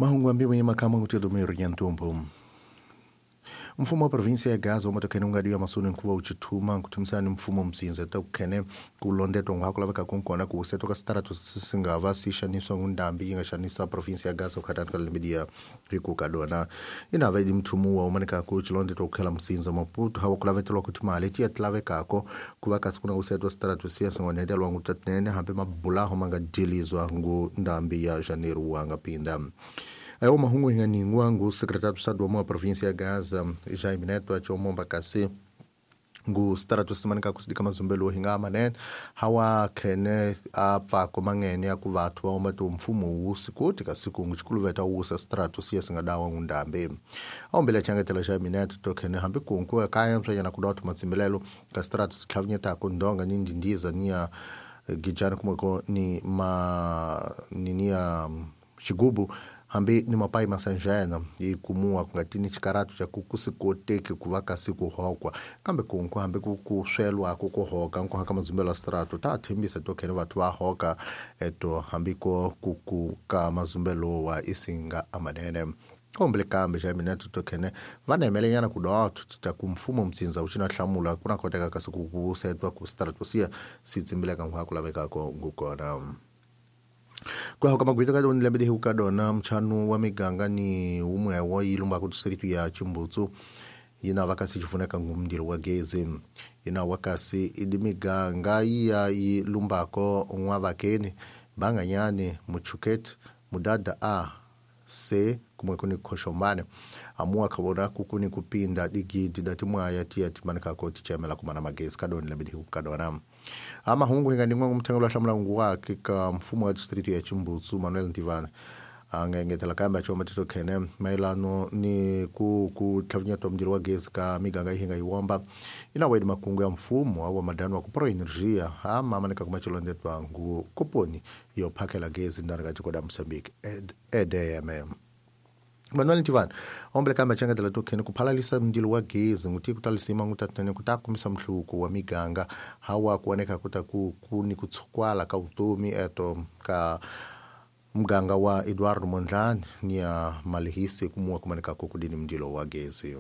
Mahungu ambiwe makama ngutelo nyantumbu. Mfumo wa provinsia ya Gaza umatokene ungadiwa masoni nkuwa uchithuma nkuthumisana mfumo mzinza tokukhene kulondetwa ngwako laveka kunkona kusetwa ka sitaratu singava sixaniswa ngundambi yi nga xanisa provinsia ya Gaza kukhatani ka lembe rikukadona inava idi mthumu wa umanekako chilondetwa kukhela msinza Maputo hawa kulavetelwa kuti mali tiya tilavekako kuva kasi kuna kusetwa sitaratu siya singonetelwa ngutatinene hambi mabulaho mangadilizwa ngundambi ya janeiro wangapinda. Ayo mahungu inganingwa ngu secretário de Estado wa província ya Gaza Jaime Neto achomomba kasi ngu starato simanika kusidika mazumbelo hinga manene hawa khene apfa mangene ya kuvathu wa matu mfumo wusikoti kasi kungu chikuluveta wusa strato siya singadawa ngundambe aombele changetela Jaime Neto to khene hambi kunku kaya msanyana kudothu matsimbilelo ka strato sitlhavinyeta kundonga ni ndindiza niya gijana kumweko ni ma ninia xigubu hambi ni mapai masanjana yi kumuwa kungatini xikaratu xa ku kusikoteki ku va kasi ku hokwa kambe kunku hambi ku swelwako ku hoka nkuhaka mazumbelo ya strato ta thembisa to khene vathu va hoka eto hambi ko ku ka mazumbelo wa isinga amanene kombele kambe xa mina to khene va nemelenyana ku dotho ta ku mfumo mtsinza wu xina hlamula ku na koteka kasi ku ku setwa ku strato siya si tsimbileka nkhwa ku lavekako ngukona. Kwa kama gwito ka lembe de hukadona mchanu wa miganga ni umwe wa ilumba ku district ya Chimbutsu yina vakasi chifuneka ngumndilo wa gezi yina wakasi idi miganga iya ilumbako n'wavakeni banganyani muchuket mudada a c kumwe kuni khoxombane amuwa khavona kukuni kupinda digidi dati mwaya tiya timanikako tichemela kumana magezi kadoni lembe de hukadona. Amahungu hinganingwa ngumthengelo hlamula nguwakhe ka mfumo wa district ya Chimbutsu Manuel Ntivana angengetela kambe achoma tito khene maelano ni ku tlhavinyetwa mndilo wa gezi ka miganga ihinga iwomba ina wedi makungu ya mfumo wa madano wa ku pro energia ama manika kumachilondetwa ngu koponi yo phakela gezi ndani ka tiko da Mozambique EDM. Manuel Ntivana ombele kambe achangetela tokhene kuphalalisa mndilo wa gezi nguti kutalisima ngutatene kutakumisa mhluko wa miganga hawa kuoneka kuta kuni kutsukwala ka utomi eto ka mganga wa Eduardo Mondlane ni ya malihisi kumuwa kumanika kukudini mndilo wa gezi.